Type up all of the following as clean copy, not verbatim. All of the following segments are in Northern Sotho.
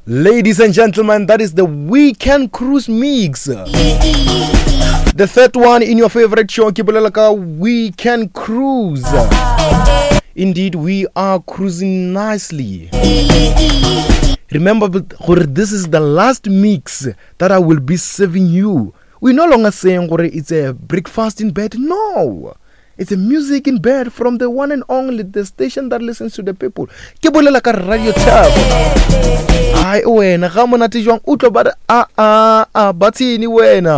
Ladies and gentlemen, that is the Weekend Cruise Mix. The third one in your favorite show, ke bolela ka Weekend Cruise. Indeed, we are cruising nicely. Remember, gore this is the last mix that I will be serving you. We're no longer saying gore it's a breakfast in bed. No. It's a music in bed from the one and only the station that listens to the people. Ke bolela ka Radio Thabo. Ai wena ga monate jwang o tlo ba re a a a ba tsini wena.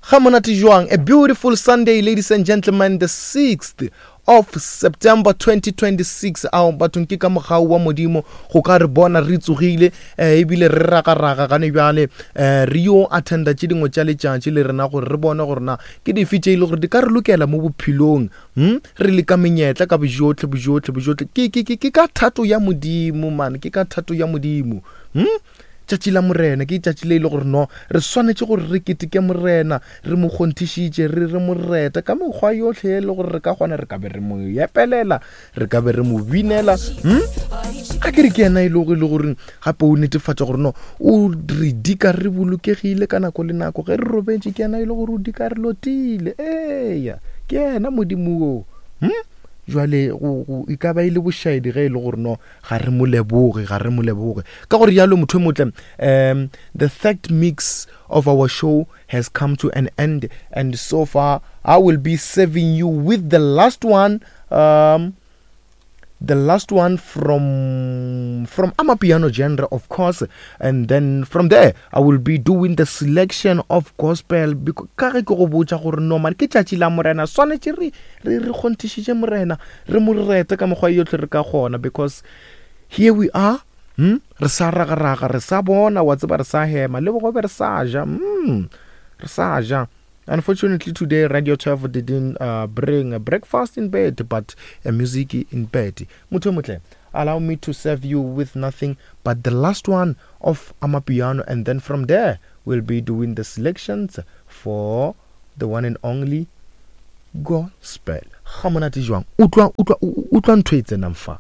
Ga monate jwang a beautiful Sunday ladies and gentlemen the 6th of September 2026 ao bathong ke ka mogau wa modimo go ka re bona re tsogile eh, ebile re ragaraga gane bjale eh, re yo attenda tše dingwe tša letšatši le rena gore re bone gore na ke dife tše e le gore di ka re lokela mo bophelong hmm? re leka menyetla ka bojotlhe bojotlhe bojotlhe ke, ke, ke, ke ka thato ya modimo man ke ka thato ya modimo hmm? Tšatši la Morena ke tšatši le e le gore no re swanetše gore re keteke Morena, re mo kgonthišitše, re re mo reta ka mekgwa yohle e le gore re ka kgona, re ka be re mo epelela, re ka be re mo binela. Hm? A ke re ke yena e le gore le gape o netefatša gore no o re dika re bolokegile ka nako le nako ge re robetše ke yena e le gore o dika re lotile. Eya, ke yena Modimo wo. Hm? Jwale go e ka ba e le bošaedi ge e le gore no ga re mo leboge ga re mo leboge ka gore jalo motho e motle um the third mix of our show has come to an end and so far i will be serving you with the last one um the last one from from amapiano genre of course and then from there i will be doing the selection of gospel because ka ge ke go botša gore no man ke tšatši la morena swanetše re re re kgonthišitše morena re mo rete ka mekgwa yotlhe re ka kgona because here we are hmm? re sa ragaraga re sa bona wa tseba re sa hema le bogobe re sa ja hmm? re sa ja Unfortunately, today Radio 12 didn't uh, bring a breakfast in bed, but a music in bed. Motho motle, allow me to serve you with nothing but the last one of Amapiano, and then from there we'll be doing the selections for the one and only gospel. Ga monate jwang? Utlwa utlwa utlwa ntho e tsenang fa.